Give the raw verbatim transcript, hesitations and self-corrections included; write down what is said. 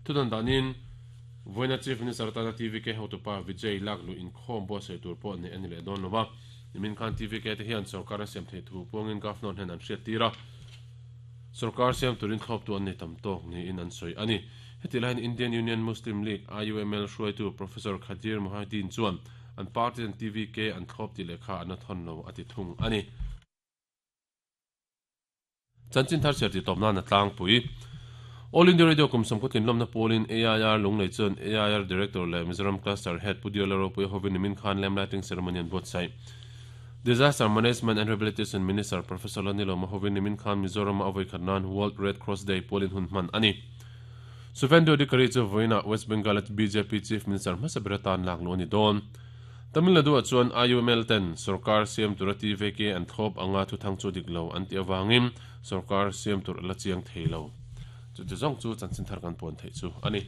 Thudan danin voina Chief Minister tana T V K hotupa Vijay lak lu in khom bo sei tur pawh nei ani leh dawn lova. Nimin khan T V K te hian sarkar an siam thei thu puangin governor hian an hriat tira. Sarkar siam turin thlawp tu an nei tam tawk niin an sawi ani. Heti lahin Indian Union Muslim League I U M L hruaitu Professor Khadir Mohideen chuan an party an T V K an thlawp ti lehkha an a thawn lo ati thung ani. Chanchin thar cher ti tawp nan a tlangpui. All India Radio kum som khutlin lomna polin A I R lunglei chuan A I R Director le Mizoram Cluster Head Pudiola Ropui hovin nimin khan lamp lighting ceremony an buatsaih. Disaster Management and Rehabilitation Minister Professor Lanilo Mahovin nimin khan Mizoram avoi khatnan World Red Cross Day polin hun hman ani. Suvendu Adhikari chu voina West Bengal at B J P Chief Minister Hmasaberatan lak lo ni don. Tamil Nadu chuan I U M L ten Sarkar Siam tura T V K an thlawp anga thu thang chu dik lo an ti awangin Sarkar Siam tur la chiang theilo. Chu chu zong chu chanchin thar kan pon thei chu ani.